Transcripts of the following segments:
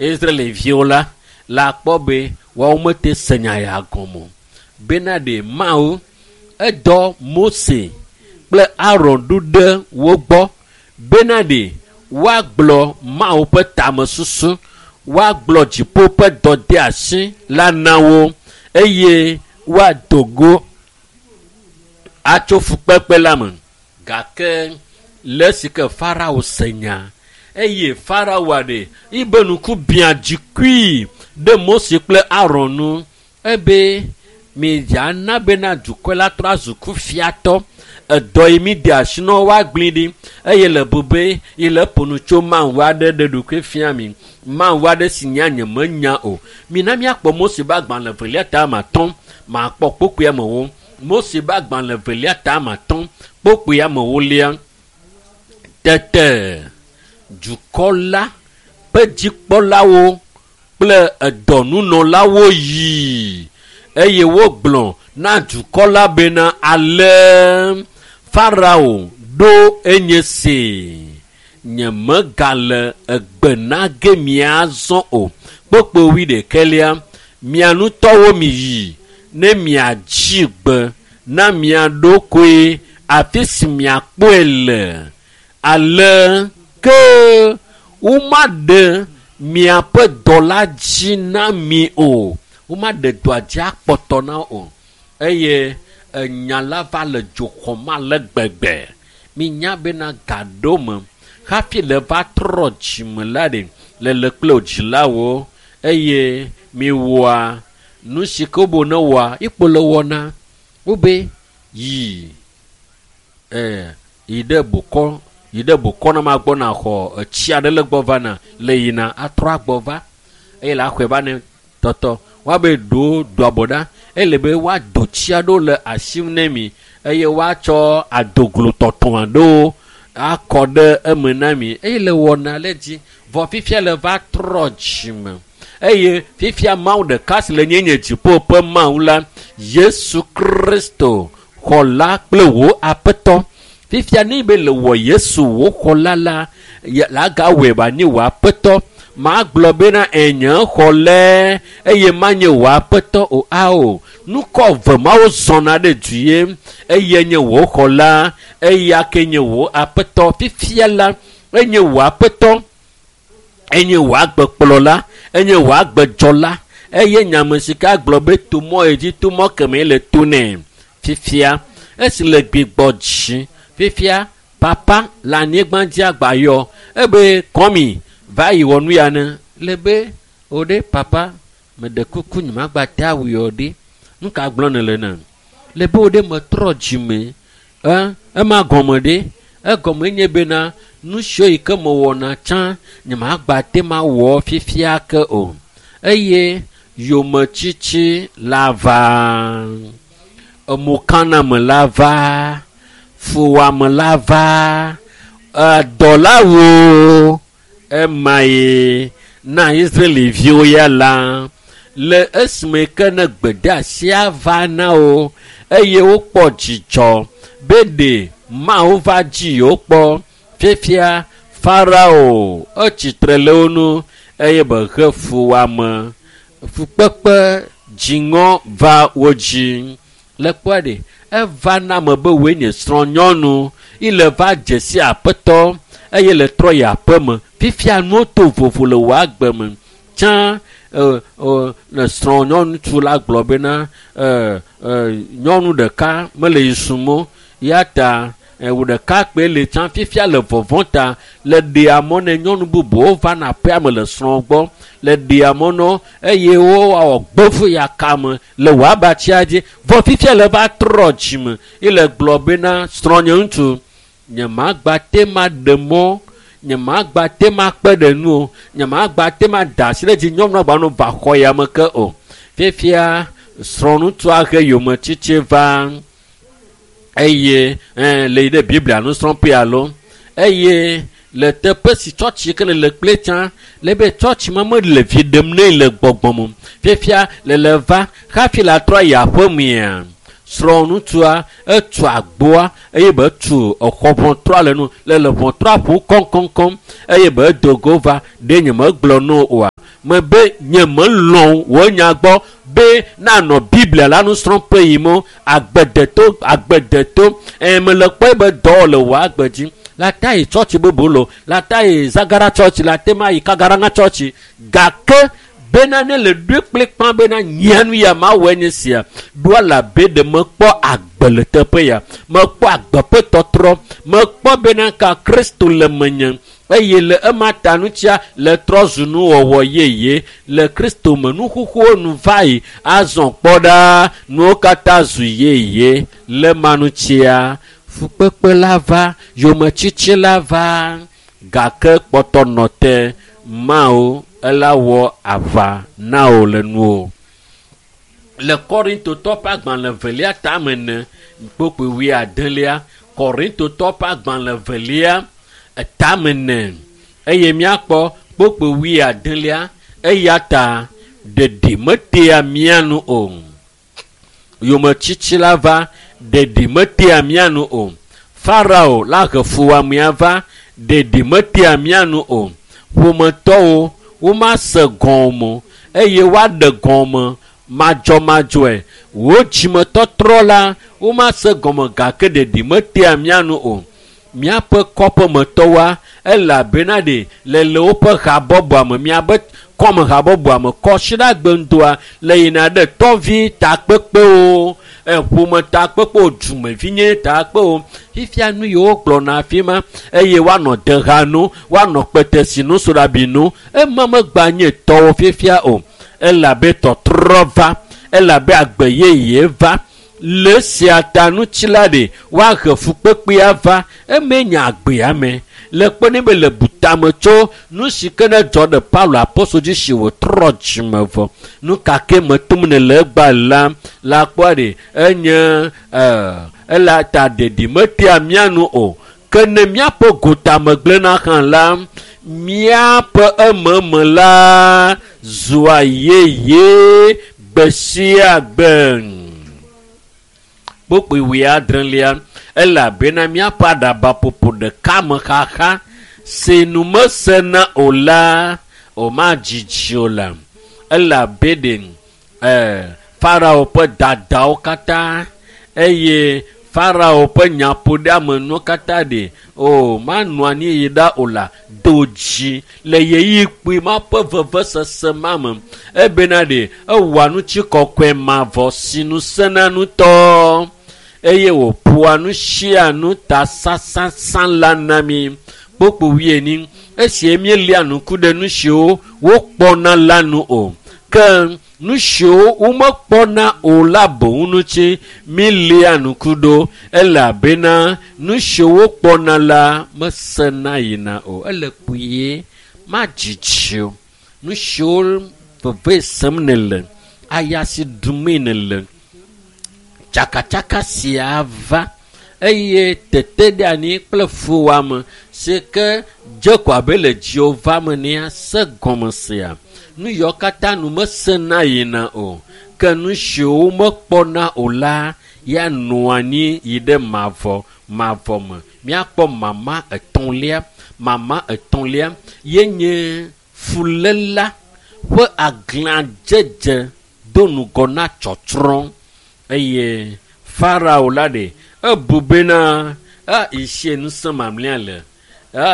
Israelviwo la la kpɔ be woawo mete se nya ya gɔme o. Bena ɖe Mawu edɔ Mose kple Aron ɖo ɖe wo gbɔ bena ɖe woagblɔ Mawu ƒe tamesusu, woagblɔ dziƒo ƒe dɔdeasi la na wo eye woado go atso fukpekpe la me. Gake le esi ke Farao se nya eye Faraoa ɖe yibe ŋku biã dzikui ɖe Mose kple Aron nu ebe midzana bena dukɔ la trɔ azu kufiatɔ edɔ yi mi de asi na woagblẽ ɖi eye le bube yi le ƒo nu tso Mawu aɖe ɖe ɖokui fia mi Mawu aɖe si nya nyemenya o. Mina míakpɔ Mose ƒe agbalẽ evelia ta ame atɔ̃ makpɔ kpokpui amewo. Mose ƒe agbalẽ evelia ta ame atɔ̃ kpokpui amewolia. Tete dukɔ la ƒe dzikpɔlawo kple edɔnunɔlawo yi eye wogblɔ na dukɔ la bena ale Farao ɖo enye se nyemegale egbe na ge miazɔ o. Kpokpo wuiɖekɛlia mia ŋutɔwo miyi ne miadzi gbe na mia ɖokoe afi si miakpɔe le ale ke womaɖe miaƒe dɔ la dzi na mi o. Womaɖe dɔa dzi akpɔtɔ na o. Eye enya la va le dzo xɔm ale gbegbe. Minya bena gaɖo me hafi le va trɔ dzime la ɖe lele kple wo dzilawo eye miwɔa nu si ke wobe ne wɔa ikpo le wɔna. Wobe yi yi ɖe bokɔ yi ɖe bokɔ na ma gbɔ na xɔ etsi aɖe le gbɔ va na le yina atrɔ agbɔ va eye le axɔe va ne tɔtɔ woabe ɖo do abɔ ɖa ele be woado tsi aɖewo le asi ne mi eye woatsɔ adoglo tɔtɔ aɖewo akɔ ɖe eme na mi eye le wɔna le dzi vɔ fifia le va trɔ dzime eye fifia Mawu ɖeka si le nye nye dziƒo ƒe Mawu la Yesu Kristo xɔla kple wò aƒetɔ. Fifia ne be le wɔ Yesu wò xɔla la la gawɔe ba nye wò aƒetɔ. Magblɔ bena enye xɔlɛ eye manye wò aƒetɔ o. Ao nukɔ ve mawo zɔna ɖe du ye eye nye wò xɔla eya ke nye wò aƒetɔ. Fifia la enye wò aƒetɔ, enye wò agbekplɔla, enye wò agbedzɔla eye nyame si ke agblɔ be to mɔ yi dzi to mɔ kemɛ le to nɛ. Fifia esi le gbigbɔ dzi fifia papa le anyigba dzi agba yɔ ebe kɔmi va yi wɔ nu ya ne le be o ɖe papa meɖe kuku nyemagba te awu yɔ ɖe nu ka gblɔ ne le na le be o ɖe metrɔ dzime ema gɔme ɖe egɔme nye bena nu siwo yi ke mewɔna tsã nyemagba te ma wɔ fifia ke o eye yometsitsi la va emokaname la va fuwɔame la va dɔlawo ema ye na Israelviwo ya la le esime ke ne gbedeasia va na wo eye wokpɔ dzidzɔ be ɖe Mawu va dzi yewo kpɔ. Fifia Farao etsitre le wo nu eye be he fuwɔame fukpekpe dziŋɔ va wo dzi. Le kpɔa ɖe eva na ame be woe nye srɔ̃nyɔnu ile va dze si aƒetɔ eye le trɔ yi aƒeme. Fifia nuwo to vovo le wò agbe me. Tsã le srɔ̃nyɔnutsu la gblɔ bena nyɔnu ɖeka mele yi sum o ya ta wò ɖeka kpe le tsã fifia le vɔvɔ̃ ta le ɖea mɔ ne nyɔnu bubuwo va na aƒea me le srɔ̃ gbɔ le ɖea mɔ nɔ eye wowɔ gbevu ya kame le wò abatsia dzi vɔ fifia le va trɔ dzime ele gblɔ bena srɔ̃nye ŋutsu nyemagba te ma ɖe mɔ nyemagba te ma kpe ɖe nu o nyemagba te ma da asi ɖe dzi nyɔnu agba no va xɔ ya me ke o. Fifia srɔ̃ŋutsua he yometsitsi va eye le yi ɖe Biblia nusrɔ̃ƒe alo eye le teƒe si tsɔtsi ke le kple tsã le be tsɔtsi ma mele vi ɖem nɛ le gbɔgbɔ me. Fifia le le va hafi la trɔ yi aƒemea srɔ̃ŋutsua etu agboa eye be tu exɔ ʋɔtrɔa le nu le le ʋɔtrɔa ƒo kɔŋkɔŋkɔŋ eye be do go va ɖe nyemegblɔ no oa. Mebe nye melɔ̃ wò nya gbɔ be nanɔ Biblia la nusrɔ̃ƒe yim o. Agbedeto, agbedeto. Mele kpɔe be dɔ le wò agbe dzi. La ta yi tsɔtsi bubu lo, la ta yi Zagara tsɔtsi, la te ma yi Kagaranga tsɔtsi. Gake bena ne le ɖoe kplikpã bena nyia nu ya mawɔe nye sia, ɖoa la be ɖe mekpɔ agbe le teƒe ya, mekpɔ agbe ƒe tɔtrɔ, mekpɔ bena ka Kristo le menye eye le ema ta ŋutia le trɔ zu nuwɔwɔ yeye le Kristo me. Nuxuxuwo nu va yi, azɔ kpɔ ɖa, nuwo katã zu yeye le ma ŋutia. Fukpekpe la va, yometsitsi la va, gake kpɔtɔ nɔ te. Mawu ela wɔ aʋa na wò le nuwò. Le Korintotɔ ƒe agbalẽ velia tame ene, kpukpui wuiadelia, Korintotɔ ƒe agbalẽ velia tame ene, eye míakpɔ kpukpui wuiadelia, eya ta ɖeɖi metea mía nu o. Yometsitsi la va, ɖeɖi metea mía nu o. Farao la he fuwɔamea va, ɖeɖi metea mía nu o. Ƒometɔwo womase gɔme o eye woaɖe gɔme madzɔmadzɔe. Wò dzimetɔtrɔ la womase gɔme gake ɖeɖi metea mía nu o. Míaƒe kɔƒemetɔwoa elabena ɖe le woƒe habɔbɔa me, míabe kɔme habɔbɔa me, kɔsiɖagbe ŋdɔa le yina ɖe tɔvi takpekpewo, ƒome takpekpewo, dumevinye takpewo. Fifia nu yiwo gblɔna afi ma eye woanɔ deha nu, woanɔ kpetesinu, soɖabinu, ema megba nye tɔwo fifia o. Elabe tɔtrɔ va, elabe agbe yeye va. Le sia ta ŋuti la ɖe woahe fukpekpea va, eme nye agbea me. Le kpɔnɛ be le butame tso nu si ke ne dzɔ ɖe Paulo apostol dzi si wòtrɔ dzime vɔ. Nu ka ke me tom ne le egbea la, la kpɔa ɖe enye ela ta ɖeɖi metea mía nu o. Ke ne míaƒe gotame gblẽna hã la, míaƒe ememe la zua yeye gbe sia gbe. Kpukpui wuiadrelia, elabena míaƒe aɖabaƒoƒo ɖeka me xaxa si nu mesena o la, womadzidzi o la. Elabe ɖe Farao ƒe dadawo katã eye Farao ƒe nyaƒoɖeamenuwo katã ɖe o manɔ anyi yi ɖa o la, do dzi le ɣeyiɣi kpui ma ƒe vevesese ma me. Ebena ɖe ewɔa ŋutikɔkɔe mavɔ si nu sẽna ŋutɔ eye wòƒoa nu sia nu ta sãsãsã la na mí. Kpukpui wuienyi, esie míelia ŋku ɖe nu siwo wokpɔna la nu o, ke nu siwo womekpɔna o la boŋ ŋuti míelia ŋku ɖo, elabena nu siwo wokpɔna la mesena yina o. Ele kpuie, madzidzi o. Nu siwo veve sem nèle, aya si ɖumee nèle, tsakatsaka sia va eye teteɖeanyi kple fuwɔame si ke dze ko abe le dziwò va me nea se gɔme sia. Nu yawo katã nu mesena yina o, ke nu siwo womekpɔna o la ya nɔa anyi yi ɖe mavɔ mavɔ me. Míakpɔ mama etɔ̃lia. Mama etɔ̃lia ye nye fuléla ƒe aglãdzedze do ŋgɔ na tsɔtsrɔ̃ eye Farao la ɖe ebu bena isi ŋusẽ mamlɛa le,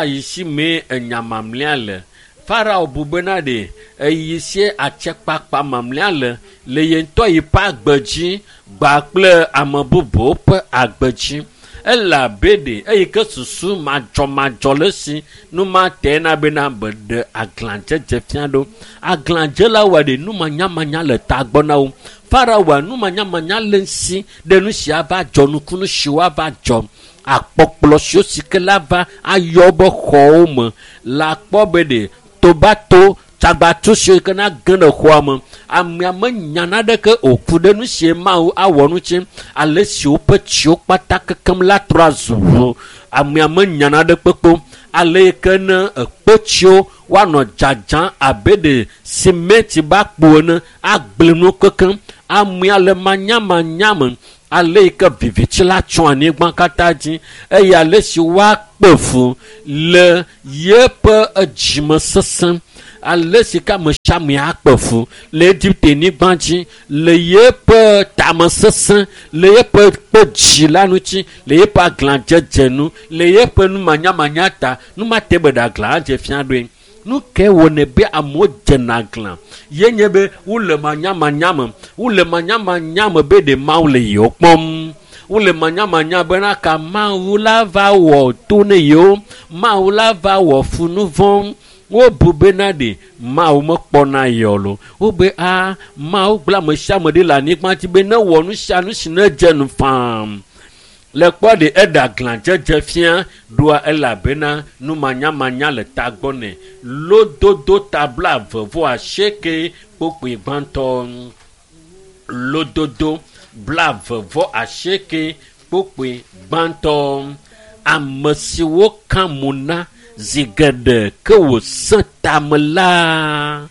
isi mee enya mamlɛa le. Farao bu bena ɖe eyi si atsekpakpa mamlɛa le le ye ŋutɔ yi ƒe agbe dzi gba kple ame bubuwo ƒe agbe dzi. Elabe ɖe eyi ke susu madzɔmadzɔ le esi nu ma te na bena be ɖe aglãdzedze fia ɖo. Aglãdzela wɔ ɖe numanyamanya le tagbɔ na wo. Farao wɔ numanyamanya le esi ɖe nu sia va dzɔ, nukunu si woava dzɔ, akpɔkplɔ siwo si ke la va ayɔ be xɔwo me la kpɔ be ɖe tobato tsagbatu siwo ke na ge ɖe xɔa me. Amea menya naneke o ku ɖe nu sie Mawu awɔ ŋuti. Ale si woƒe tsiwo kpata kekem la trɔ azu ʋu. Amea menya naneke kpekpe o. Ale yi ke ne ekpetsiwo woanɔ dzadzam abe ɖe simɛnti be akpo ene agblẽ nuwo kekem. Amea le manyamanya me. Ale yi ke viviti la tsɔ anyigba katã dzi eye ale si woakpe fu le yeƒe dzime sesẽ. Ale si ke ame sia ame akpe fu le Egipte nyigba dzi le yeƒe tamesesẽ, le yeƒe kpe dzi la ŋuti, le yeƒe aglãdzedze nu, le yeƒe numanyamanya ta, nu ma te be ɖe aglã adze fia ɖoe. Nu ke wɔnɛ be amewo dzena aglã ye nye be wole manyamanya me, wole manyamanya me be ɖe Mawu le yewo kpɔm. Wole manyamanya bena ka Mawu la va wɔ to ne yewo, Mawu la va wɔ fu nu vɔ̃. Wobu bena ɖe Mawu mekpɔna yewo lo. Wobe a Mawu gblẽ ame sia ame ɖi le anyigba dzi be ne wɔ nu sia nu si ne dze nu faa. Le kpɔ ɖe eɖe aglãdzedze fia ɖoa elabena numanyamanya le tagbɔ nɛ. Lododo ta 28 kpokpoe gbãtɔ. Lododo 28 kpokpoe gbãtɔ. Ame siwo ka mo na zi geɖe ke wòsẽ tame la,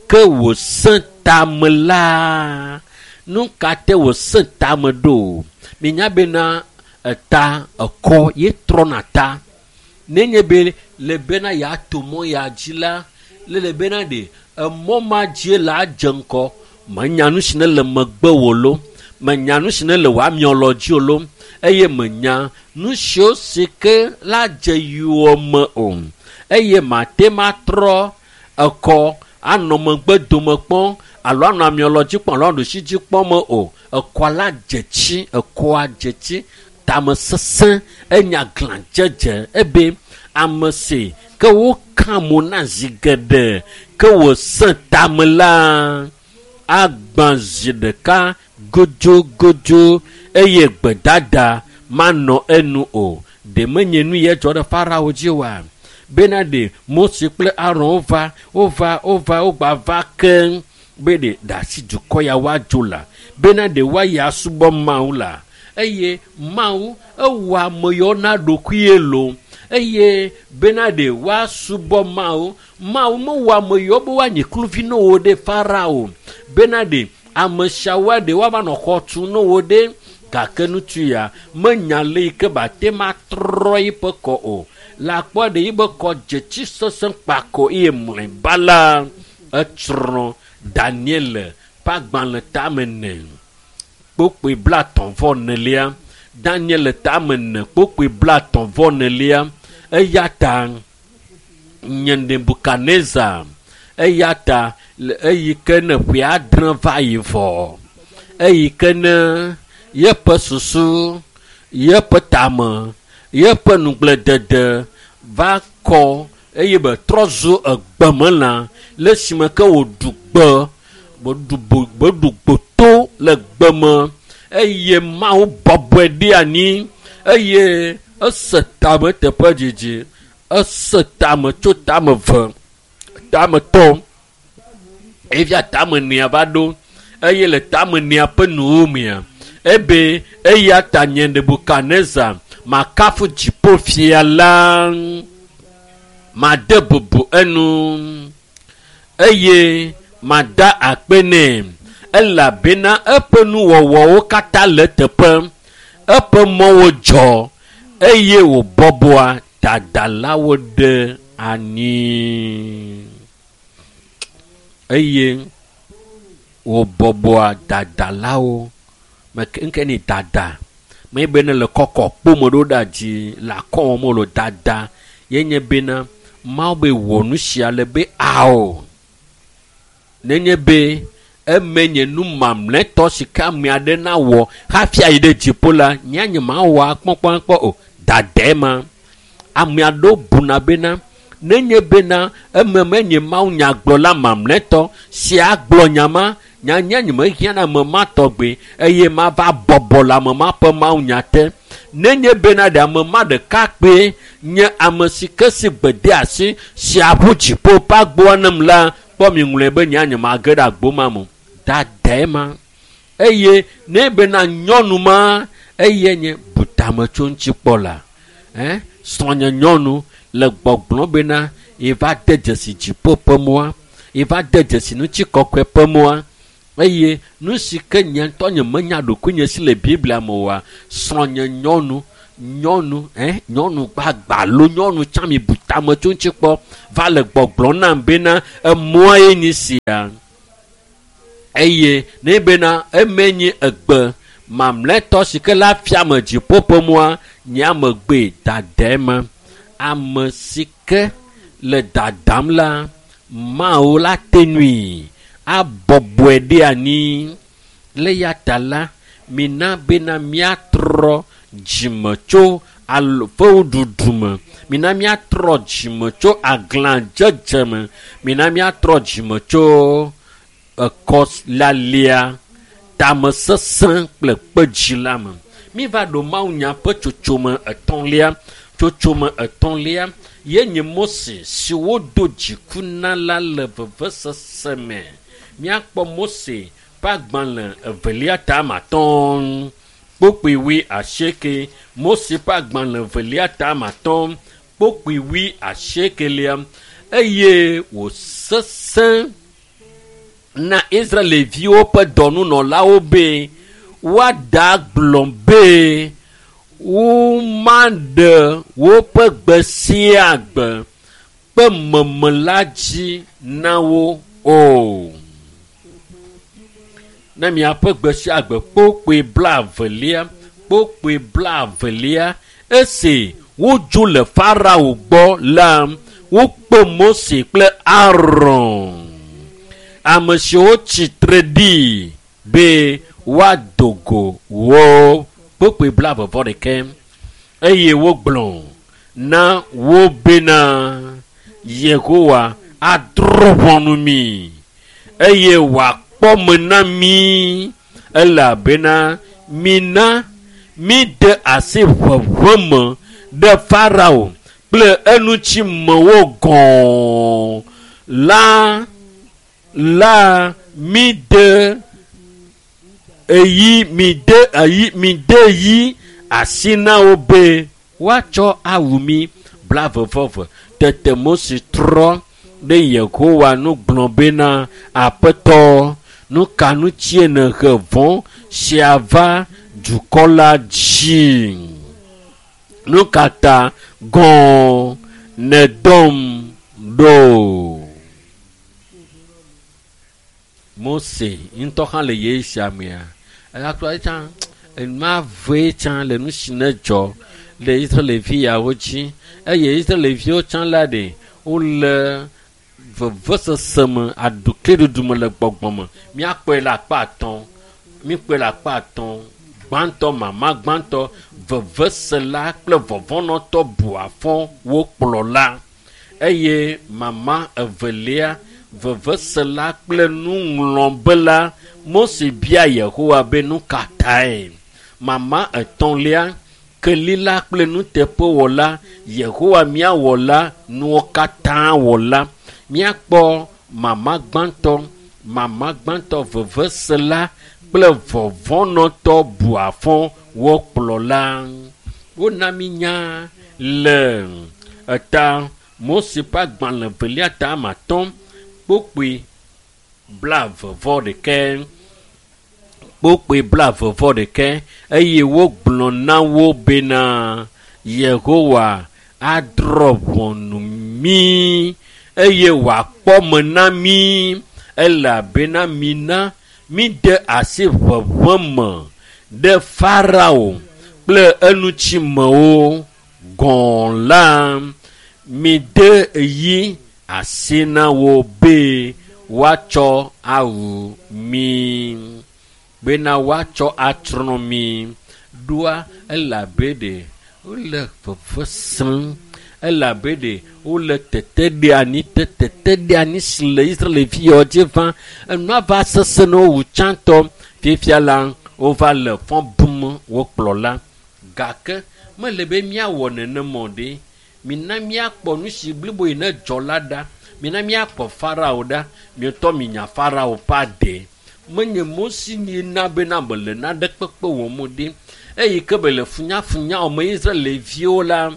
ke wòsẽ tame la. Nu ka te wòsẽ tame ɖo? Minya bena eta ekɔ ye trɔna ta. Nenye be le bena yeato mɔ ya dzi la, le bena ɖe emɔ ma dzie le adze ŋkɔ. Menya nu si ne le megbe wò lo, menya nu si ne le wò amiɔlɔ dzi o lo, eye menya nu siwo si ke la dze yiwò me o. Eye mate ma trɔ ekɔ anɔ megbe dome kpɔm alo anɔ amiɔlɔ dzi kpɔm alo anɔ ɖusi dzi kpɔm me o. Ekɔ la dze tsi, ekɔa dze tsi, tame sesẽ, enya glãdzedze ebe ame si ke woka mo na zi geɖe ke wòsẽ tame la agbã zi ɖeka godzogodzo eye gbedada manɔ enu o. Ɖe menye nu ye dzɔ ɖe Farao dzi oa? Bena ɖe Mose kple Aron wova, wova, wogba va keŋ be ɖe ɖe asi dukɔ ya woadzo la, bena ɖe woayi asubɔ Mawu la. Eye Mawu ewɔ ame yawo na ɖokuie lo. Eye bena ɖe woasubɔ Mawu. Mawu mewɔ ame yawo be woanyi kluvi na wo ɖe Farao. Bena ɖe ame siawoa ɖe woava nɔ xɔ tum na wo ɖe. Gake ŋutsu ya menya le yi ke ba te ma trɔ yiƒe kɔ o. Le akpɔ ɖe yiƒe kɔ dze tsi sesẽ kpako eye mlɔeba la etsrɔ̃ Daniel ƒe agbalẽ tame 4 kpokpoe 34. Daniel tame 4 kpokpoe 34. Eya ta nye Nebukadnezar, eya ta eyi ke ne ƒe 7 va yi vɔ, eyi ke ne yeƒe susu, yeƒe tame, yeƒe nugbledede va kɔ eye be trɔ zu egbemelã le esime ke wòɖu gbe, wòɖu gboto le gbeme eye Mawu bɔbɔe ɖe anyi eye ese tame teƒe dzidzi, ese tame tso tame 2, tame 3, evia tame 4 va ɖo eye le tame 4 ƒe nuwo mea ebe eya ta nye Nebukadnezar makafu dziƒofia la, made bubu enu eye mada akpe nɛ elabena eƒe nuwɔwɔwo katã le teƒe, eƒe mɔwo dzɔ eye wòbɔbɔa dadalawo ɖe anyi. Eye wòbɔbɔa dadalawo. Nke ni dada menye be ne le kɔkɔ kpome ɖo ɖe dzi le akɔwɔm o lo dada ye nye bena Mawu be wɔ nu sia le be ao. Nenye be eme nye nu mamlɛtɔ si ke ame aɖe nawɔ hafi ayi ɖe dziƒo la, nye nye mawɔ akpɔkpɔakpɔ o. Dadae ma. Ame aɖewo buna bena nenye bena eme menye Mawu nyagblɔla mamlɛtɔ si agblɔ nya ma, nya nye nye mehiã na ame ma tɔgbe eye mava bɔbɔ le ame ma ƒe Mawu nya te. Nenye bena ɖe ame ma ɖeka kpe nye ame si ke si gbede asi si aʋu dziƒo ƒe agboa nem la, kpɔ mi ŋlɔe be nye nye mage ɖe agbo ma me. Dadae ma. Eye ne bena nyɔnu ma eye nye butame tso ŋuti kpɔ la, srɔ̃nye nyɔnu le gbɔgblɔ bena yeva de dzesi dziƒo ƒe mɔa, yeva de dzesi ŋutikɔkɔe ƒe mɔa, eye nu si ke nye ŋutɔ nye menya ɖokuinye si le Biblia me oa, srɔ̃nye nyɔnu Nyɔnu nyɔnu gbagbalo nyɔnu tsã mi bu tame tso ŋuti kpɔ va le gbɔgblɔm nam bena emɔa ye nyi sia. Eye ne bena eme nye egbe mamlɛtɔ si ke la fia me dziƒo ƒe mɔa nye amegbee dada ma. Ame si ke le dadam la Mawu la te nui abɔbɔe ɖe anyi. Le ya ta la mina bena míatrɔ dzime tso fewuɖuɖu me, mina míatrɔ dzime tso aglãdzedze me, mina míatrɔ dzime tso ekɔlalia tamesesẽ kple kpedzi la me. Míva ɖo mawunya ƒe tsotsome etɔ̃lia. Tsotsome etɔ̃lia ye nye Mose si wodo dziku na la le vevesese me. Míakpɔ Mose ƒe agbalẽ evelia ta ame atɔ̃ kpokpui wui asieke. Mose ƒe agbalẽ evelia ta ame atɔ̃ kpokpui wui asiekelia eye wòsesẽ na Israelviwo ƒe dɔnunɔlawo be woada gblɔ be womaɖe woƒe gbe sia gbe ƒe meme la dzi na wo o. Ne miaƒe gbe sia gbe kpokpui blaevelia kpokpui blaevelia esi wodzo le Farao gbɔ la wokpe Mose kple Aron, ame siwo tsitre ɖi be woado go wo kpokpui blaeve-vɔ-ɖekɛ eye wogblɔ na wo bena Yehowa adrɔ̃ ʋɔnu mi eye wòakpɔ me na mi elabena mina míde asi ʋeʋẽ me ɖe Farao kple eŋutimewo gɔ̃ la la míde eyi mide eyi mide yi asi na wo be woatsɔ awu mi blaeve-vɔ-eve. Tete Mose trɔ ɖe Yehowa nu gblɔ bena Aƒetɔ, nu ka ŋutie nèhe vɔ̃ sia va dukɔ la dzi? Nu ka ta gɔ̃ nèdɔm ɖo? Mose ŋutɔ hã le ɣeyiɣi sia mea, eya tsã enua vee tsã le nu si ne dzɔ le Israelvi yawo dzi eye Israelviwo tsã la ɖe wole vevesese me aɖukliɖuɖu me le gbɔgbɔ me. Míakpɔe le akpa atɔ̃, míkpɔe le akpa atɔ̃. Gbãtɔ, mama gbãtɔ, vevesela kple vɔvɔ̃nɔtɔ bu afɔ wo kplɔla eye mama evelia, vevesela kple nuŋlɔbela Mose bia Yehowa be nu ka tae. Mama etɔ̃lia, kelila kple nuteƒewɔla Yehowa mía wɔla nuwo katã wɔla. Míakpɔ mama gbãtɔ, mama gbãtɔ vevesela kple vɔvɔ̃nɔtɔ bu afɔ wo kplɔla. Wona mi nya le eta Mose ƒe agbalẽ evelia ta ame atɔ̃ kpokpui blaeve-vɔ-ɖekɛ kpokpui blaeve-vɔ-ɖekɛ eye wogblɔ na wo bena Yehowa adrɔ̃ ʋɔnu mí eye wòakpɔ me na mí elabena mina míde asi ʋeʋẽ me ɖe Farao kple eŋutimewo gɔ̃ la mide yi asi na wo be woatsɔ awu mí bena woatsɔ atsrɔ̃ mí. Ɖoa elabe ɖe wole veve sem, elabe ɖe wole teteɖeanyi teteɖeanyi si le Israelviwo dzi va enua va sesẽ na wo wu tsãtɔ. Fifia la wova le fɔ bum wo kplɔla gake mele be míawɔ nenema o ɖe. Mina míakpɔ nu si blibo yi ne dzɔ la ɖa. Mina míakpɔ Farao ɖa. Mietɔ minya Farao ƒe ade. Menye Mose nye na bena mele nane kpekpe wɔm o ɖe. Eyi ke be le funyafunya wɔm Israelviwo la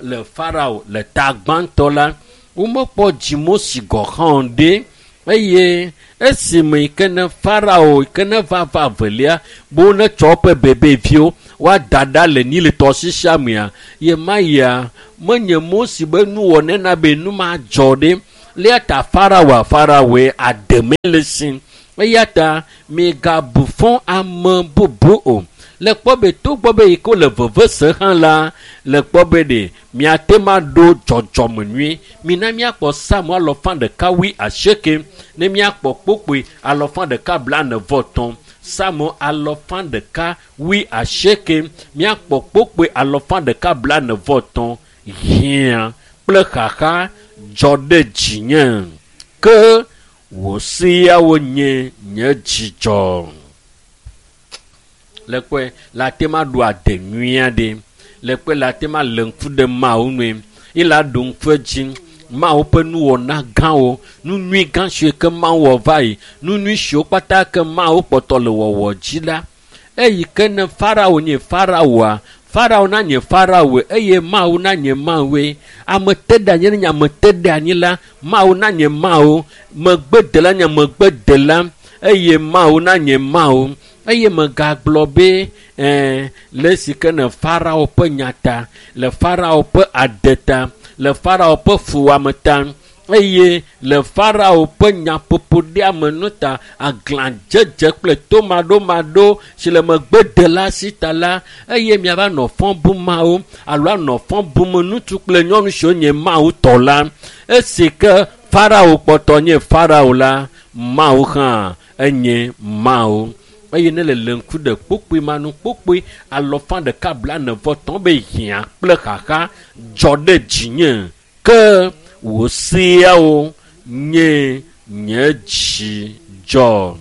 le Farao le ta gbãtɔ la, womekpɔ dzi Mose gɔ̃ hã o ɖe. Eye esime yi ke ne Farao yi ke ne va va velia be wonetsɔ woƒe bebeviwo woada ɖa le Nil tɔsisia mea, ye ma yia menye Mose be nuwɔnɛ na be nu ma dzɔ ɖe. Eya ta Faraoa Faraoe ademe le si. Eya ta migabu fɔ ame bubu o. Le kpɔ be togbɔ be yi ke wole veve se hã la, le kpɔ be ɖe miate ma ɖo dzɔdzɔme nyui. Mina míakpɔ Psalm 188 ne míakpɔ kpokpoe 143. Psalm 188 míakpɔ kpokpoe 143. Hiã kple xaxa dzɔ ɖe dzinye, ke wò seawo nye nye dzidzɔ. Le kpɔe la te ma ɖo ade nyui aɖe. Le kpɔe la te ma le ŋku ɖe Mawu nue. Ye la ɖo ŋku edzi Mawu ƒe nuwɔna gãwo, nu nyui gã siwo ke Mawu wɔ va yi, nu nyui siwo kpata ke Mawu kpɔtɔ le wɔwɔ dzi la. Eyi ke ne Farao nye Faraoa, Farao nanye Faraoe eye Mawu nanye Mawue. Ame te ɖe anyi ne nye ame te ɖe anyi la, Mawu nanye Mawu. Megbedela nye megbedela eye Mawu nanye Mawu. Eye megagblɔ be le esi ke ne Farao ƒe nya ta, le Farao ƒe ade ta, le Farao ƒe fuwɔame ta, eye le Farao ƒe nyaƒoƒoɖeamenu ta, aglãdzedze kple tomaɖomaɖo si le megbedela si ta la, eye miava nɔ fɔ bum Mawu alo anɔ fɔ bum ŋutsu kple nyɔnu siwo nye Mawu tɔ la. Esi ke Farao kpɔtɔ nye Farao la, Mawu hã enye Mawu. Eye ne le le ŋku ɖe kpokpoe ma nu kpokpoe 143 be hiã kple xaxa dzɔ ɖe dzinye, ke wò seawo nye nye dzidzɔ.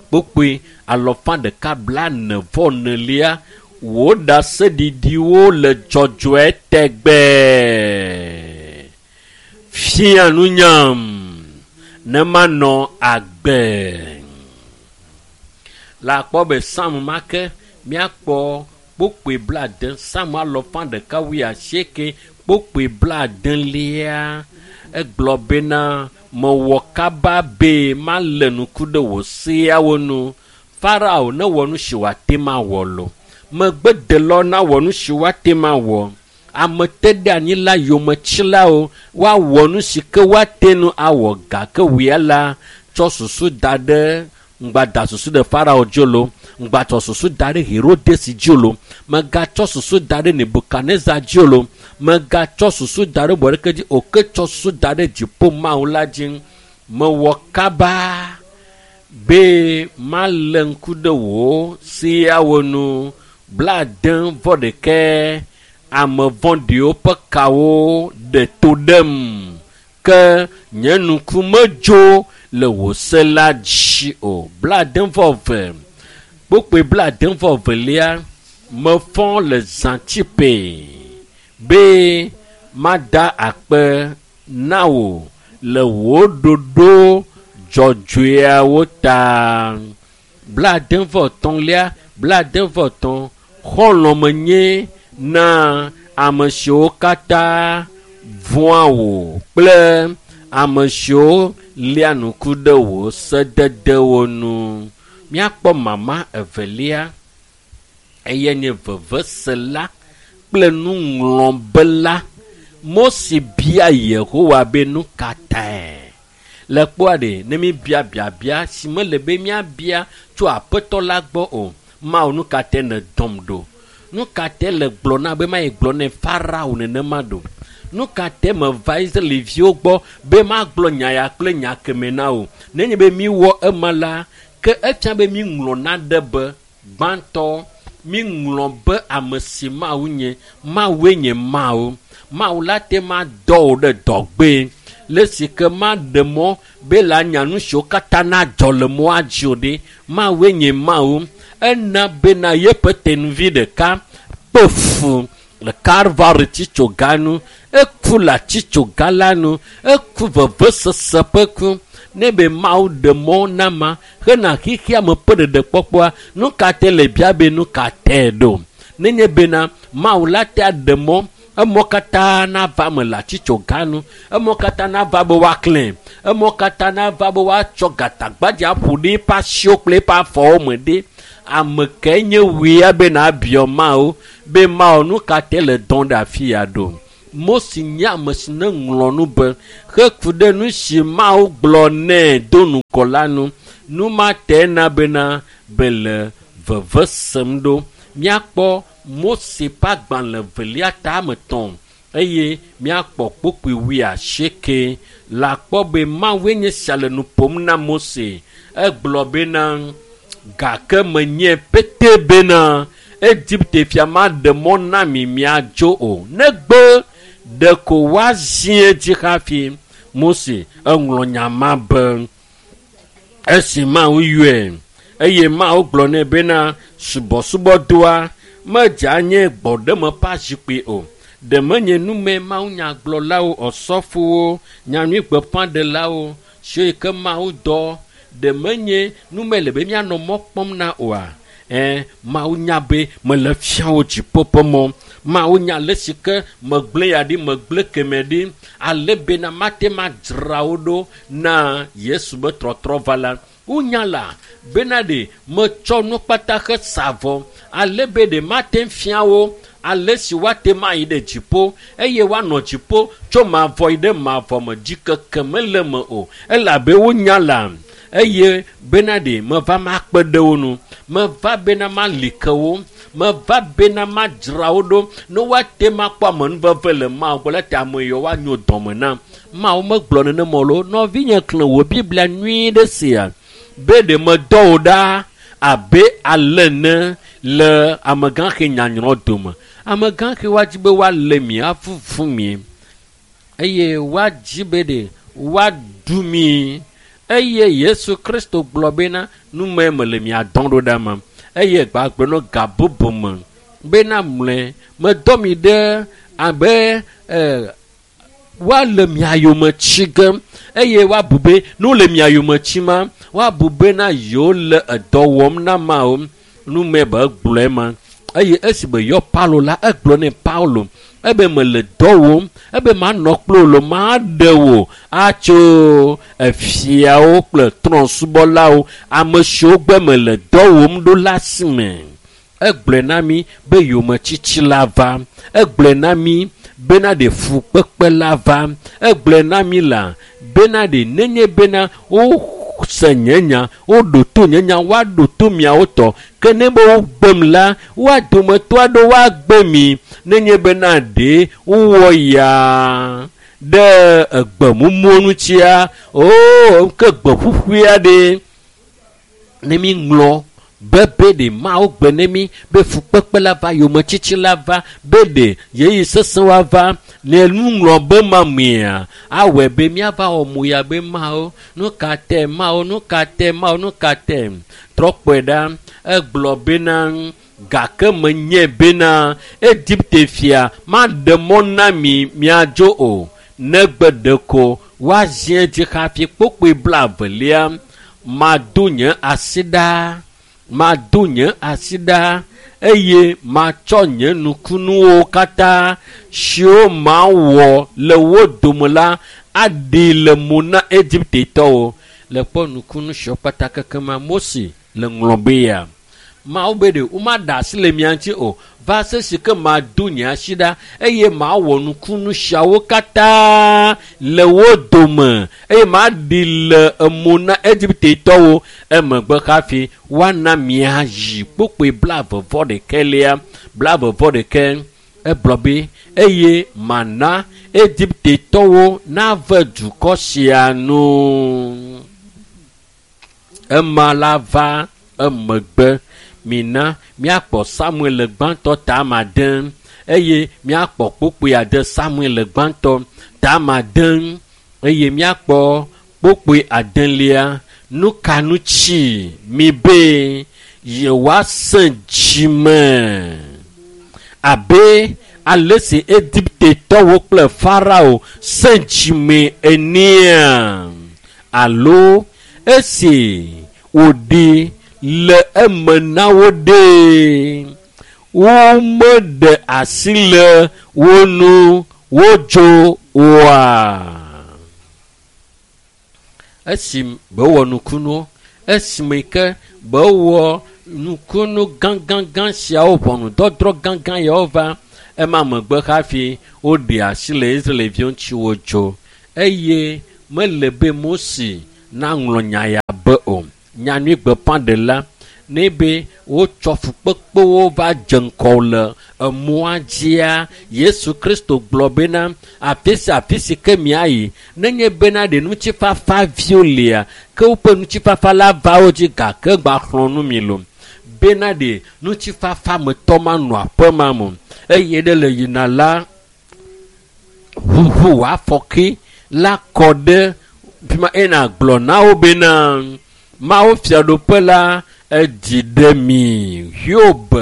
Kpokpoe 144 wò ɖaseɖiɖiwo le dzɔdzɔe tɛgbɛɛ. Fia nunyam ne manɔ agbe. La kpɔ be Psalm ma ke míakpɔ kpokpoe 70, Psalm 188 kpokpoe 70 egblɔ bena mewɔ kaba be malé ŋku ɖe wò seawo nu. Farao newɔ nu si wòate ma wɔ lo. Megbedelawo nawɔ nu si woate ma wɔ. Ame te ɖe anyi la yometsilawo woawɔ nu si ke woate nu awɔ gake wòya la tsɔ susu da ɖe ŋgba da susu ɖe Farao dzi lo, ŋgba tsɔ susu da ɖe Herodes dzi lo, megatsɔ susu da ɖe Nebukadnezar dzi lo, megatsɔ susu da ɖe bɔɖeke dzi o, ke tsɔ susu da ɖe dziƒo Mawu la dzi. Mewɔ kaba be malé ŋku ɖe wò seawo nu. 76 ame vɔ̃ɖiwo ƒe kawo ɖe to ɖem, ke nye ŋku medzo le wò se la dzi o. 72 kpokpoe 72 mefɔ le zãtsipe be mada akpe na wò le wò ɖoɖo dzɔdzɔeawo ta. 73 73 xɔlɔ̃ menye na ame siwo katã vɔ̃a wò kple ame siwo lia ŋku ɖe wò sededewo nu. Míakpɔ mama evelia, eye nye vevesela kple nuŋlɔbela. Mose bia Yehowa be nu ka tae? Le kpɔa ɖe, ne míbia biabia si mele be míabia tso Aƒetɔ la gbɔ o, Mawu nu ka tae nèdɔm ɖo? Nu ka tae le gblɔ na be mayi gblɔ ne Farao nenema ɖo? Nu ka tae meva Israelviwo gbɔ be magblɔ nya ya kple nya keme na wo? Nenye be míwɔ ema la, ke efia be míŋlɔ naɖe be gbãtɔ, míŋlɔ be ame si Mawu nye, Mawue nye Mawu. Mawu la te ma dɔ wò ɖe dɔgbe le si ke maɖe mɔ be la nya nu siwo katã nadzɔ le mɔa dzi o ɖe. Mawue nye Mawu. Ena bena yeƒe tenuvi ɖeka kpe fu le Kalvari tsitsoga nu, eku le atsitsoga la nu, eku vevesese ƒe ku. Ne be Mawu ɖe mɔ na ma hena xexea me ƒe ɖeɖekpɔkpɔa, nu ka tae le bia be nu ka tae ɖo? Nenye bena Mawu la te aɖe mɔ Emɔ katã nava me le atitsoga nu. Emɔ katã nava be woaklẽ. Emɔ katã nava be woatsɔ gatagbadze aƒo ɖe eƒe asiwo kple eƒe afɔwo me ɖe. Ame kae nye wòe be nàbiɔ Mawu be Mawu nu ka te le dɔm ɖe afi ya ɖo? Mose nye ame si ne ŋlɔ nu be heku ɖe nu si Mawu gblɔ nɛ do ŋgɔ la nu. Nu ma te na bena be le veve sem ɖo. Míakpɔ Mose ƒe agbalẽ velia tame 3 eye míakpɔ kpukpui 80 le akpɔ be Mawue nye sia le nu ƒom na Mose. Egblɔ bena gake menye pete bena Egipte fia maɖe mɔ na mi miadzo o negbe ɖeko woazi edzi hafi. Mose eŋlɔ nya ma be esi Mawu yɔe eye Mawu gblɔ nɛ bena subɔsubɔdɔa medze anye gbɔɖeme ƒe azikpui o. Ɖe menye nume mawunyagblɔlawo, ɔsɔfowo, nyanyuigbeƒãɖelawo siwo yi ke Mawu dɔ, ɖe menye nume le be míanɔ mɔ kpɔm na oa? Mawu nya be mele fia wo dziƒo ƒe mɔ. Mawu nya ale si ke megblẽ ya ɖi, megblẽ keme ɖi, ale bena mate madzra wo ɖo na Yesu be trɔtrɔ va la. Wonya la bena ɖe metsɔ nu kpata he sa vɔ, ale be ɖe mate fia wo ale si woate mayi ɖe dziƒo eye woanɔ dziƒo tso mavɔ yi ɖe mavɔ me, dzikeke mele me o, elabe wonya la eye bena ɖe meva makpe ɖe wo nu, meva bena mali ke wo, meva bena madzra wo ɖo ne woate makpɔ amenuveve le Mawu gbɔ la ta ame yiwo woanyo dɔme na. Mawu megblɔ nenema o lo. Nɔvinye xlẽ wò Biblia nyuie ɖe sia be ɖe medɔ wò ɖa abe ale ene le amegãxi nyanyrɔ dome. Amegãxi woadzi be woalé mi, avuvu mi eye woadzi be ɖe woaɖu mi. Eye Yesu Kristo gblɔ bena nume mele mia dɔm ɖo ɖa me eye gbagblɔ no ga bubu me bena mlɔe medɔ mi ɖe abe woale mia yome tsi ge eye woabu be ne wole mia yome tsi ma woabu bena yewo le edɔ wɔm na Mawu. Nume be egblɔe ma. Eye esi be yɔ Paulo la, egblɔ nɛ Paulo ebe mele dɔ wɔm, ebe manɔ kple wò lo, maɖe wò atso efiawo kple trɔ̃subɔlawo, ame siwo gbe mele dɔ wɔm ɖo la si me. Egblɔe na mi be yometsitsi la va. Egblɔe na mi bena ɖe fukpekpe la va. Egblɔe na mi la bena ɖe nenye bena wose nye nya, woɖo to nye nya, woaɖo to miawo tɔ. Ke ne be wogbem la, woa dometɔ aɖewo woagbe mi. Nenye bena ɖe wowɔ ya ɖe egbemumu ŋutia, oo ke gbe ƒuƒui aɖe ne mi ŋlɔ be ɖe Mawu gbe ne mi be fukpekpe la va, yometsitsi la va, be ɖe ɣeyiɣi sesẽ woava ne nuŋlɔ be ma mea awɔe be míava wɔ mo ya be Mawu nu ka te, Mawu nu ka te, Mawu nu ka te. Trɔ kpɔe ɖa, egblɔ bena gake menye bena Egipte fia maɖe mɔ na mi miadzo o, negbe ɖeko woazi edzi hafi kpukpui 22 mado nye asi ɖa, mado nye asi ɖa eye matsɔ nye nukunuwo katã siwo mawɔ le wo dome la aɖi le mo na Egiptetɔwo. Le kpɔ nukunu siwo kpata kekema Mose le ŋlɔ be ya. Mawu be ɖe womaɖe asi le mia ŋuti o va se si ke mado nye asi ɖa eye mawɔ nukunu siawo katã le wo dome eye maɖi le emo na Egiptetɔwo. Emegbe hafi woana miayi kpukpui 21 21 egblɔ be eye mana Egiptetɔwo nave dukɔ sia nu. Ema la va emegbe. Mina míakpɔ Samuel gbãtɔ tame 6 eye míakpɔ kpukpui 6 Samuel gbãtɔ tame 6 eye míakpɔ kpukpui 8. Nu ka ŋuti mi be yewoasẽ dzime abe ale si Egiptetɔwo kple Farao sẽ dzime enea? Alo esi wòɖi le eme na wo ɖe, Womeɖe asi le wo nu wodzo oa? Esi bewɔ nukunuwo, esime ke bewɔ nukunu gãgãgã siawo, ʋɔnudɔdrɔ̃ gãgã yawo va ema megbe hafi woɖe asi le Israelviwo ŋuti wodzo. Eye mele be Mose naŋlɔ nya ya be o. Nyanyui gbeƒãɖela ne be wotsɔ fukpekpewo va dze ŋgɔ le emɔa dzia, Yesu Kristo gblɔ bena afi sia afi si ke miayi, nenye bena ɖe ŋutifafa viwo lia, ke woƒe ŋutifafa la va wo dzi gake gba xlɔ̃ nu mi lo. Bena ɖe ŋutifafa metɔ manɔ aƒe ma me eye ɖe le yina la ʋuʋu wòafɔke la kɔ ɖe fi ma eye nàgblɔ na wo bena Mawu fiaɖuƒe la edzi ɖe mi. Hiob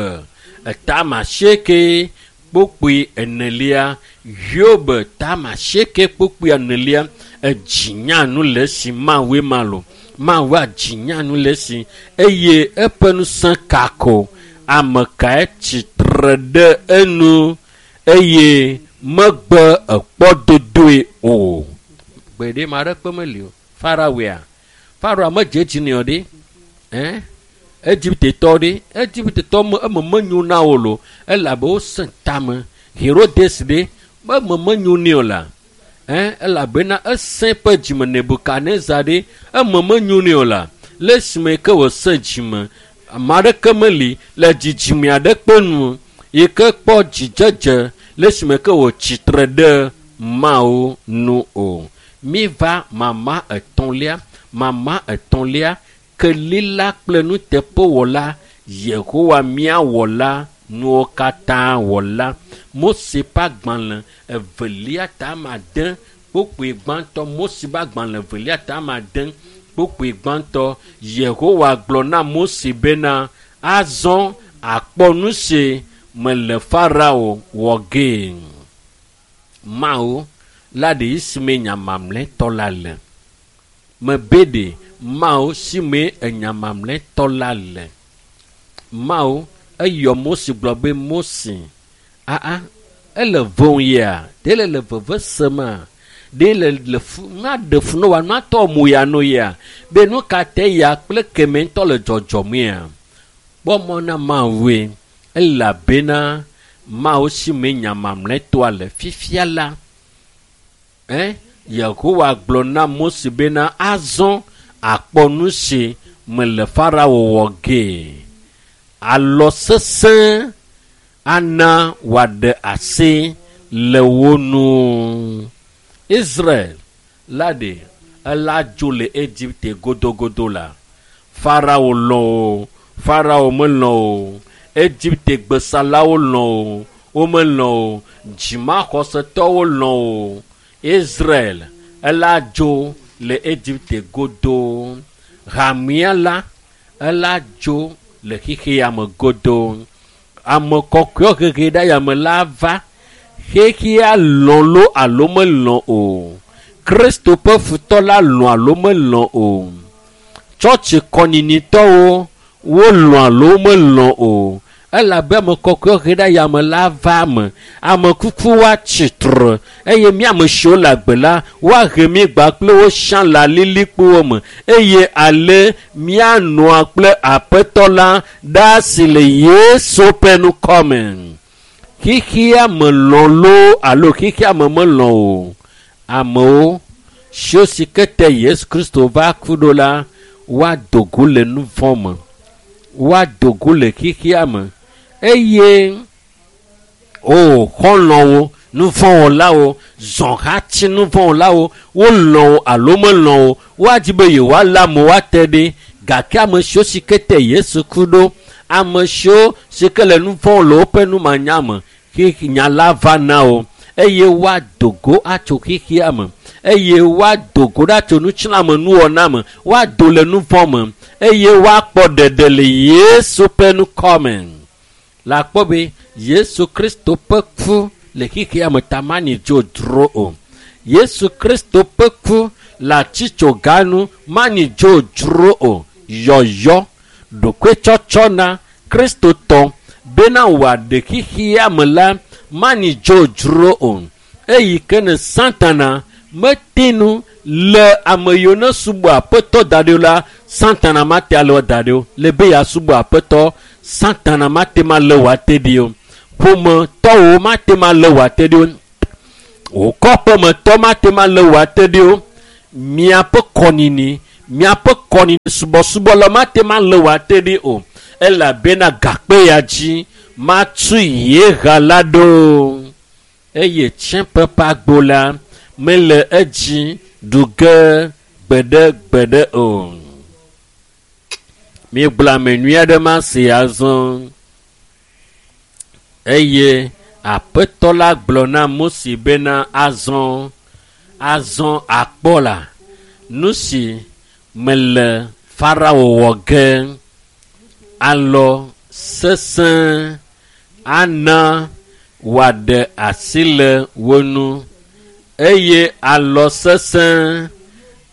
8 kpukpui 4. Hiob 8 kpukpui 4. Edzi nyanu le esi Mawue ma lo. Mawu adzi nyanu le esi eye eƒe ŋusẽ kako. Ame kae tsitre ɖe enu eye megbe ekpɔ dodoe o. Gbe ɖe ma ɖe kpe meli o. Faraoa. Faraoa medze edzi nɛ o ɖe. Egiptetɔ ɖe. Egiptetɔ eme menyo na wo lo. Elabe wosẽ tame. Herodes ɖe. Eme menyo nɛ o la. Elabena esẽ ƒe dzime Nebukadnezar ɖe. Eme menyo nɛ o la. Le esime ke wòsẽ dzime, ame aɖeke meli le dzidzime aɖe kpe nu yi ke kpɔ dzidzedze le esime ke wòtsitre ɖe Mawu nu o. Miva mama etɔ̃lia, kelila kple nuteƒewɔla, Yehowa mía wɔla, nuwo katã wɔla. Mose ƒe agbalẽ 2 ta 9 kpukpui gbãtɔ. Mose ƒe agbalẽ 2 ta 9 kpukpui gbãtɔ. Yehowa gblɔ na Mose bena azɔ akpɔ nu si mele Farao wɔ gee. Mawu la ɖe esime nya mamlɛtɔ la le. Mebe ɖe Mawu si me enya mamlɛtɔ la le. Mawu eyɔ Mose gblɔ be Mose, aa ele vɔ̃ ya, ɖe le le veve sema, ɖe le le fu, na ɖe fu no wa na tɔ mu ya no ya, be nu ka te ya kple keme ŋutɔ le dzɔdzɔm ya. Kpɔ mɔ na Mawue, elabena Mawu si me nya mamlɛtɔa le fifia la. Yehowa gblɔ na Mose bena azɔ akpɔ nu si mele Farao wɔ gee. Alɔ sesẽ ana wòaɖe asi le wo nu. Israel la ɖe ela dzo le Egipte godogodo la. Farao lɔ̃ o, Farao melɔ̃ o, Egipte gbesalawo lɔ̃ o, womelɔ̃ o, dzimaxɔsetɔwo lɔ̃ o. Israel ela dzo le Egipte godo. Hamea la ela dzo le xexea me godo. Ame kɔkɔewo hehe ɖe ayame la va. Xexea lɔ̃ lo alo melɔ̃ o. Kristo ƒe futɔ la lɔ̃ alo melɔ̃ o. Tsɔtsi kɔnyinitɔwo wolɔ̃ alo melɔ̃ o. Elabe ame kɔkɔewo he ɖe ayame la va me. Ame kukuwo atsi tre eye mía ame siwo le agbe la woahe mí gba kple wo siã le alilikpowo me eye ale míanɔa kple Aƒetɔ la ɖaa si le Yesu ƒe ŋkɔme. Xexea me lɔ̃ loo alo xexea me melɔ̃ o. Amewo siwo si ke te Yesu Kristo va ku ɖo la woado go le nu vɔ̃ me. Woado go le xexea me eye o xɔlɔ̃wo, nuvɔ̃wɔlawo, zɔhatsi nuvɔ̃wɔlawo, wolɔ̃ wo alo melɔ̃ o, woadzi be yewoalé amewo ate ɖe. Gake ame siwo si ke te Yesu ku ɖo, ame siwo si ke le nu vɔ̃ le woƒe numanya me, nya la va na wo eye woado go atso xexea me eye woado go ɖa tso nutsilamenuwɔna me, woado le nu vɔ̃ me eye woakpɔ ɖeɖe le Yesu ƒe ŋkɔme. La kpɔ be Yesu Kristo ƒe ku le xexea me ta mani dzodzro o. Yesu Kristo ƒe ku le atsitsogã nu mani dzodzro o. Yɔyɔ, ɖokuitsɔtsɔ na Kristotɔ bena wòaɖe xexea me la manyi dzodzro o. Eyi ke ne Satana mete nu le ame yiwo ne subɔ aƒetɔ da ɖi o la, Satana mate alé wo da ɖi o. Le be yeasubɔ aƒetɔ, Satana mate ma lé wò ate ɖi o. Ƒometɔwo mate ma lé wò ate ɖi o. Wò kɔƒemetɔ mate ma lé wò ate ɖi o. Miaƒe kɔnini, miaƒe kɔnini subɔsubɔ la mate ma lé wò ate ɖi o. Elabena gakpe ya dzi matu ye ha la ɖo. Eye tsiẽƒe ƒe agbo la mele edzi ɖu ge gbeɖegbeɖe o. Míegblɔ ame nyui aɖe ma si azɔ. Eye aƒetɔ la gblɔ na Mose bena azɔ, azɔ akpɔ la, nu si mele Farao wɔ ge alɔ sesẽ ana wòaɖe asi le wo ŋu eye alɔ sesẽ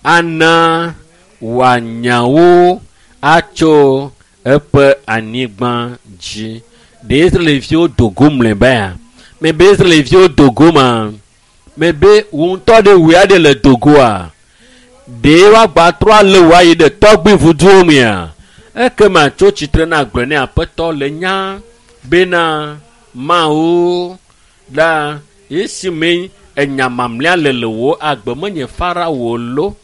ana wòanya wo atso eƒe anyigba dzi. Ɖe Israelviwo do go mlɔeba ya? Mebe Israelviwo do go ma? Mebe wò ŋutɔ ɖe wòe aɖe le do goa? Ɖe woagba trɔ alé wò ayi ɖe tɔgbui vuduwo mea? Ekema tso tsitre na gblɔ ne aƒetɔ le nya bena Mawu la esime enya mamlɛa le le wò agbe menye Farao lo,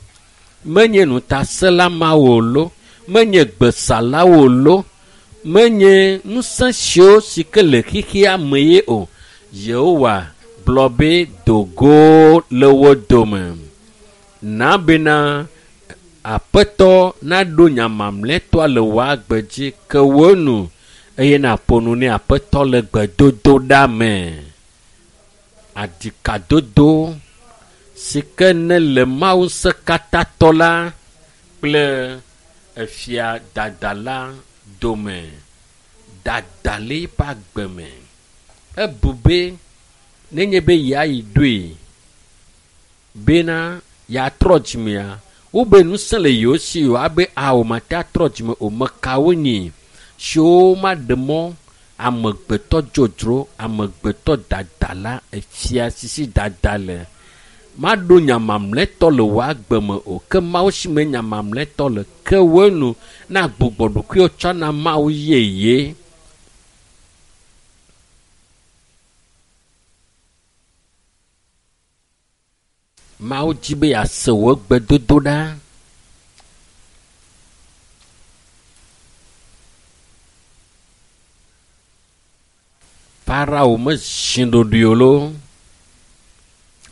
menye ŋutasẽla mawo lo, menye gbesalawo lo, menye ŋusẽ siwo si ke le xexea me ye o. Yehowa gblɔ be do go le wo dome. Na bena aƒetɔ naɖo nya mamlɛtɔa le wò agbe dzi ke wò nu eye nàƒo nu ne aƒetɔ le gbedodoɖa me. Adikadodo si ke ne le Mawu ŋusẽkatãtɔ la kple efia dada la dome. Dada le eƒe agbe me. Ebu be nenye be yeayi ɖoe bena yeatrɔ dzimea, wobe ŋusẽ le yewo si yewoabe ao mate atrɔ dzime o. Mekawo nyi siwo maɖe mɔ amegbetɔ dzodzro, amegbetɔ dada la, efia sisi dada le. Maɖo nya mamlɛtɔ le wò agbe me o. Ke Mawu si me nya mamlɛtɔ le ke wò nu na gbugbɔ ɖokuiwò tsɔ na Mawu yeye. Mawu dzi be yease wò gbedodoɖa. Farao mezi ɖoɖoe o loo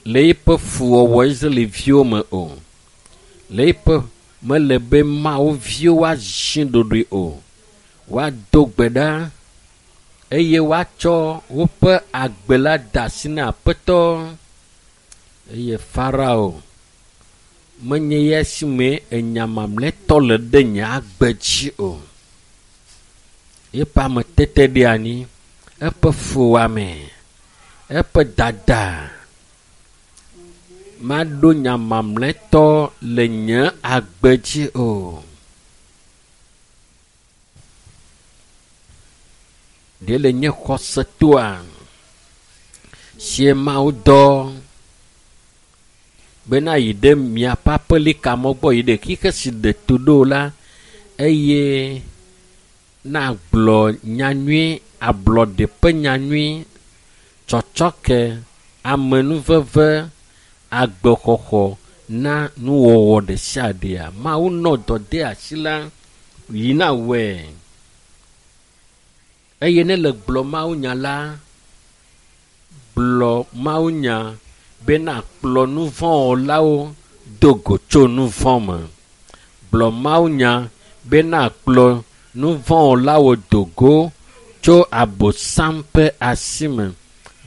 le eƒe fuwɔwɔ Israelviwo me o. Le eƒe mele be Mawu viwo woazi ɖoɖoe o. Woado gbe ɖa eye woatsɔ woƒe agbe la de asi na aƒetɔ. Eye Farao menye ya si me enya mamlɛtɔ le ɖe nye agbe dzi o. Eƒe ametete ɖe anyi, eƒe fuwɔame, eƒe dada maɖo nya mamlɛtɔ le nye agbe dzi o. Ɖe le nye xɔsetoa sie Mawu dɔ bena yi ɖe miaƒe aƒelika mɔ gbɔ yi ɖe xixe si ɖe to ɖo la eye nagblɔ nyanyui, ablɔɖe ƒe nyanyui, tsɔtsɔke, amenuveve, agbexɔxɔ na nuwɔwɔ ɖe sia ɖea. Mawu nɔ dɔ de asi la yina wɔe. Eye ne le gblɔ Mawunya la, gblɔ Mawunya bena kplɔ nuvɔ̃wɔlawo do go tso nuvɔ̃ me. Gblɔ Mawunya bena kplɔ nuvɔ̃wɔlawo do go tso abosam ƒe asi me.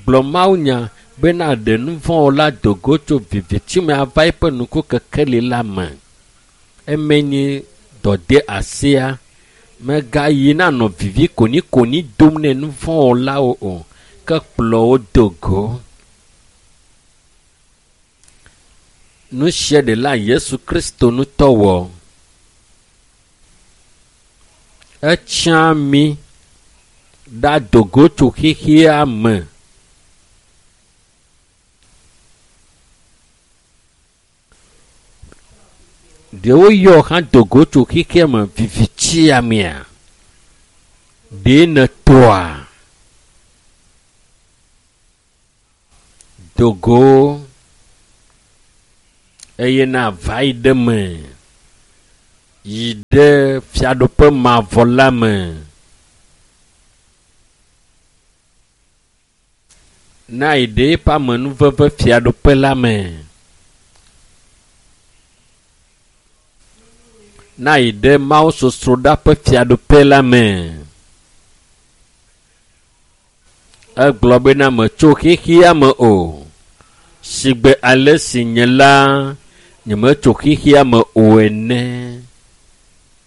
Gblɔ Mawunya bena ɖe nuvɔ̃wɔla do go tso viviti me ava eƒe nukukekeli la me. Eme nye dɔde asia. Megayi na nɔ vivi konikoni dom ne nuvɔ̃wɔlawo o, ke kplɔ wo do go. Nu sia ɖela Yesu Kristo ŋutɔ wɔ. Etsã mí Ɖado go tso xexea me. Ɖewo yɔ hã do go tso xexea me vivitsia mea? Ɖe nètoa? Do go eye nava yi ɖe me yi ɖe fiaɖuƒe mavɔ la me. Na yi ɖe eƒe amenuveve fiaɖuƒe la me. Na yi ɖe Mawu sosroɖa ƒe fiaɖuƒe la me. Egblɔ bena metso xexea me o. Sigbe ale si nye la nyemetso xexea me o ene.